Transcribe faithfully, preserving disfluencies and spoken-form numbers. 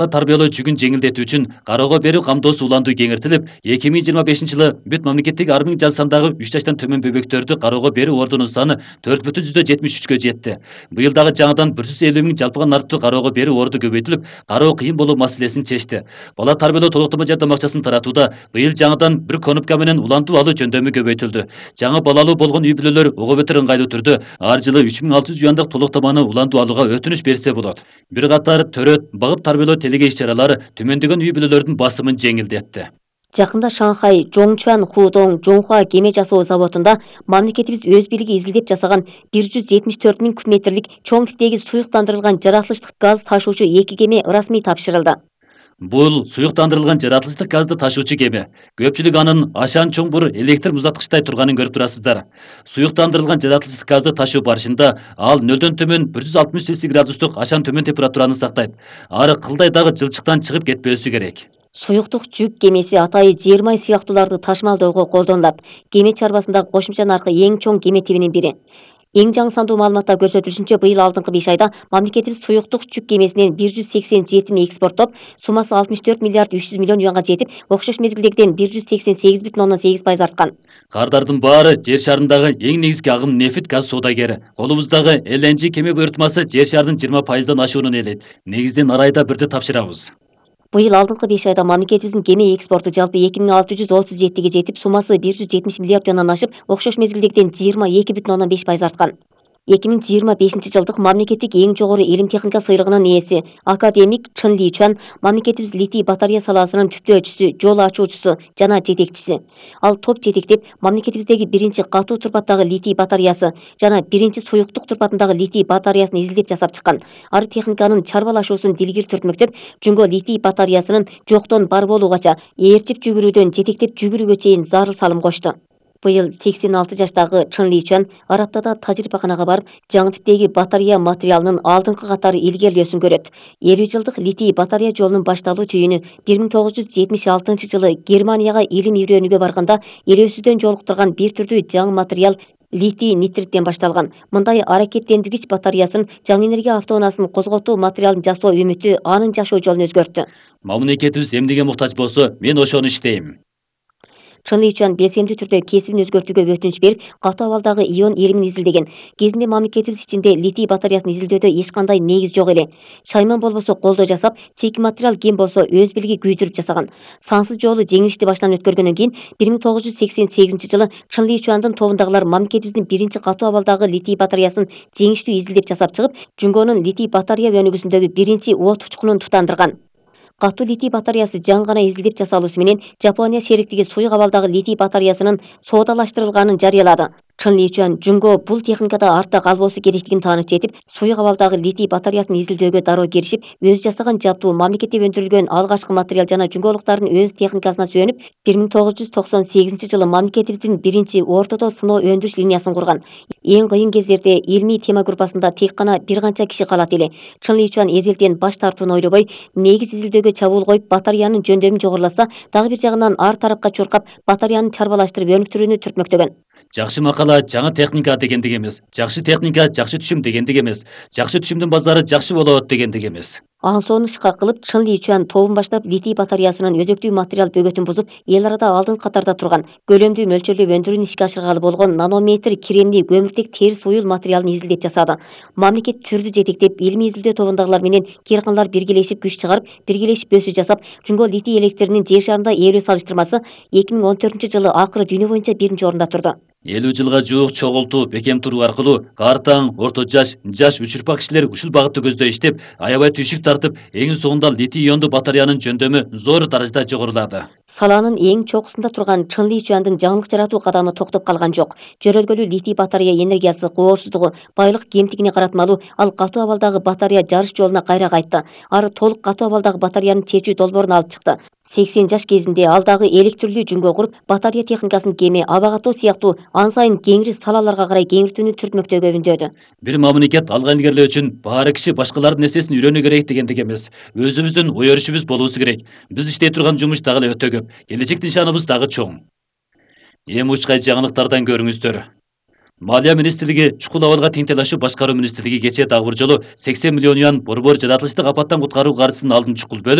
Тарбиялоо жүгүн жеңилдетүү үчүн кароого берүү камдоосу улантуу кеңейтилип, эки миң жыйырма бешинчи жылы бүт мамлекеттик ар миң жаш сандагы үч жаштан төмөн бөбөктөрдү кароого берүү ордунун саны төрт бүтүн жүздөн жетимиш үчкө жетти. Быйыл дагы жаңыдан бир жүз элүү миң жалпыдан артык кароого берүү орду көбөйтүлүп, кароо кыйын болуу маселесин чечти. Бала тарбиялоо толуктама жардам акчасын таратууда быйыл жаңыдан бир конопка менен улантуу алуу жөндөмү көбөйтүлдү. Жаңы балалуу болгон үй бүлөлөр ого бетер ыңгайлуу түрдө ар жылы үч миң алты жүз уяндык толуктаманы улантуу алууга өтүнүч берсе болот. Бир катар төрөт, багып тарбиялоо телеге иш-чаралары төмөндөгөн үй бүлөлөрдүн басымын жеңилдетти. Жакында Шанхай Жоңчуан Худong Жоңхуа кеме жасоо заводунда мамлекетибиз өз бийлиги изилдеп жасаган бир жүз жетимиш төрт миң куб метрлик чоң типтеги суюктандырылган жаратылыштык газ ташуучу эки кеме расмий тапшырылды. Бул суюктандырылган жаратылыштык газды ташуучу кеме. Көпчүлүк анын ашан чоңбур электр муздаткычтай турганын көрүп турасыздар. Суюктандырылган жаратылыштык газды ташуу барышында ал нөлдөн төмөн бир жүз алтымыш цельсий градустук ашан төмөн температураны сактайт. Ары кылдай дагы жылчыктан чыгып кетпөөсү керек. Суюктук жүк кемеси атайы жер май сыяктууларды ташмалdoого колдонулат. Кеме чарбасындагы кошумча наркы эң чоң кеме тибинин бири. Эң жаңы сандуу маалыматта көрсөтүлүшүнчө, быйыл алдыңкы беш айда мамлекетибиз суюктук жүк кемесинен бир жүз сексен жетини экспорттоп, суммасы алтымыш төрт миллиард үч жүз миллион юанга жетип, окшош мезгилдегиден бир жүз сексен сегиз бүтүн ондон сегиз пайыз арткан. Кардардын баары жер шарындагы эң негизги агым нефт газ соодагери. Колубуздагы эл эн жи кеме буйртмасы жер шарынын жыйырма пайыздан ашуунун ээлейт. Негизден арайда бирди тапшырабыз. Быйыл алдыңкы беш айда мамлекетибиздин кеме экспорту жалпы эки миң алты жүз отуз жетиге жетип, суммасы бир жүз жетимиш миллиард юандан ашып, окшош мезгилдегиден жыйырма эки бүтүн ондон беш пайыз арткан. эки миң жыйырма бешинчи жылдык мамлекеттик эң жогору илим техника сыйлыгынын ээси академик Чын Личуан мамлекетибиз литий батарея саласынын түптөөчүсү, жол ачуучусу жана жетекчиси. Ал топ жетектеп, мамлекетибиздеги биринчи катуу турпаттагы литий батареясы жана биринчи суюктук турпатындагы литий батареясын изилдеп жасап чыккан. Ар техниканын чарбалашуусун дилгир түртмөктөп, жүнгө литий батареясынын жоктон бар болуугача ээрчип жүгүрүүдөн жетектеп жүгүрүүгө чейин зарыл салым кошту. Быйыл сексен алты жаштагы Чын Личуан Ар аптада тажрыйбаканага барып, жаңы типтеги батарея материалынын алдыңкы катары илгерилөөсүн көрөт. элүү жылдык литий батарея жолунун башталуу түйүнү бир миң тогуз жүз жетимиш алтынчы жылы Германияга илим үйрөнүүгө барганда элөөсүздөн жолуктурган бир түрдүү жаңы материал литий нитриттен башталган. Мындай аракеттендиргич батареясын жаңы энергия автоунаасын козготуу материалын жасоо үмүтү анын жашоо жолун өзгөрттү. Мамлекетибиз эмнеге муктаж болсо, мен ошону иштейм. Чын Личуан белсемдүү түрдө кесибин өзгөртүүгө өтүнүч берип, катуу абалдагы ион илимин изилдеген. Кезинде мамлекетибиз ичинде литий батареясын изилдөөдө эч кандай негиз жок эле. Шайман болбосо колдоо жасап, чийки материал ким болсо өз билиги күйдүрүп жасаган. Сансыз жолу жеңилишти баштан өткөргөндөн кийин бир миң тогуз жүз сексен сегизинчи жылы Чын Личуандын тобундагылар мамлекетибиздин биринчи катуу абалдагы литий батареясын жеңиштүү изилдеп жасап чыгып, жүнгөнүн литий батарея өнүгүүсүндөгү биринчи от учкунун тутандырган. Катуу литий батареясы жаңы гана изилдеп жасалуусу менен Жапония шериктиги суюк абалдагы литий батареясынын соодалаштырылганын жарыялады. Чын Личуан жүнгө бул техникада артта калбоосу керектигин таанып жетип, суюк абалдагы литий батареясын изилдөөгө дароо киришип, өз жасаган жабдуу мамлекетте өндүрүлгөн алгачкы материал жана жүнгөлуктардын өз техникасына сүйөнүп, бир миң тогуз жүз токсон сегизинчи жылы мамлекетибиздин биринчи ортодо сыноо өндүрүш линиясын курган. Эң кыйын кездерде илмий тема группасында тек гана бир канча киши калат эле. Чын Личуан эзелтен баш тартууну ойлобой, негиз изилдөөгө чабуул коюп, батареянын жөндөмүн жогоруласа, дагы бир жагынан ар тарапка чуркап, батареяны чарбалаштырып өнүктүрүүнү түртмөктөгөн. Жакшы макала жаңы техника дегендик эмес. Жакшы техника жакшы түшүм дегендик эмес. Жакшы түшүмдүн базары жакшы болот дегендик эмес. Ансону ышка кылып, Чын Личуан тобун баштап литий батареясынын өзөктүү материал бөгөтүн бузуп, эл арада алдыңкы катарда турган, көлөмдүү мөлчөрлүү өндүрүүнү ишке ашыргалы болгон нанометр кремний көмүртек терс уюл материалын изилдеп жасады. Мамлекет түрдү жетектеп, илмий изилдөө тобундагылар менен кыйрканалар биргелешип күч чыгарып, биргелешип өсүү жасап, жүнгө литий электринин жер шарында ээлөө салыштырмасы эки миң он төртүнчү жылы акыры дүйнө боюнча биринчи орунда турду. элүү жылга жуук чогултуу, бекем туруу аркылуу картаң, орто жаш, жаш үч урпак кишилер ушул багытты көздөй иштеп, аябай түйшүк тартып, эң соңунда литий иондуу батареянын жөндөмү зор даражада жогорулады. Саланын эң чокусунда турган Чын Личуандын жаңылык жаратуу кадамы токтоп калган жок. Жөрөлгөлүү литий батарея энергиясы коопсуздугу, байлык кемтигине каратмалуу, ал катуу абалдагы батарея жарыш жолуна кайра кайтты. Ары толук катуу абалдагы батареянын чечүү долбоорун алып чыкты. сексен жаш кезинде ал дагы электрлүү жүнгө куруп, батарея техникасын кеме, аба катуу сыяктуу ан сайын кеңири салаларга карай кеңиртүүнү түртмөктөөгө үндөөдү. Бир мамлекет алга илгерилөө үчүн баары киши башкалардын нерсесин үйрөнүү керек дегендик эмес. Өзүбүздүн ой өрүшүбүз болуусу керек. Биз иштей турган жумуш дагы эле өтө көп. Келечек нишаныбыз дагы чоң. Эми учкай жаңылыктардан көрүңүздөр. Малия министрлиги чукул абалга тең талашуу башкаруу министрлиги кечээ дагы бир жолу сексен миллион юан борбор жаратылыштык апаттан куткаруу каржысынын алдын чукул бөлүп